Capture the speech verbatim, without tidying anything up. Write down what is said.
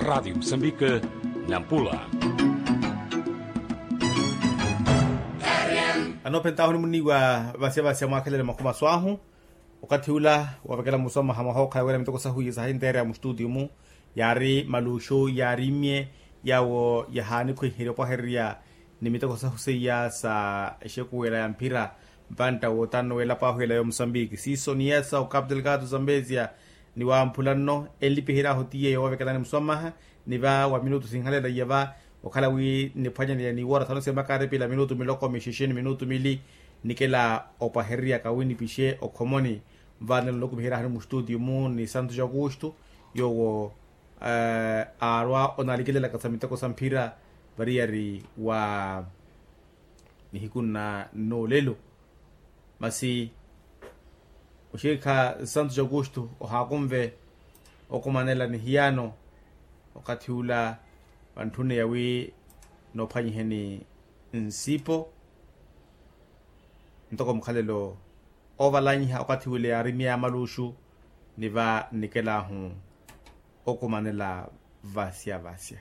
Radiyo musambike, nampula. Anoophentahu nimuniiwa vasya vasya mwakhelele makhumasu ahu. Okathi ula woovekela musoma hamwaha okhala wira miteko sahu iye sahinteereya mustutiyo-mu, yaari maluxu yaari imye, yaawo yahaanikhwiherya opwahererya ni miteko sahu seiya sa exekuwela ya mphira. Mpantta wootano w'elapo ahu ela yomusambiki siiso ni yesa okapu telekatu zambezia, ni wamphula nno enlipihery'ahu ti yeeyo woovekelani musoma mwaha. Ni va wa minutu sinhalela iya va okhala wi niphwanyaneya ni woora thanu sya makaripila minutu miloko mixexe ni minutu mili. Nikela opwahererya kawinipixe okhomoni. Vanelo nlukumiheryahani mustutiyo-mu ni santu ja aukustu, yoowo aarwa onaalikelelaka sa miteko sa mphira variyari wa nihiku nna nnoolelo. Masi oxikha santu ja aukustu ohaakunve okumanela ni hiyaano. Okathi ula vantthune yawi noophwanyiheni nsipo ntoko mukhalelo oovalanyiha okathi ule yaari myeya maluxu. Ni va nnikel'ahu okumanela vasya vasya.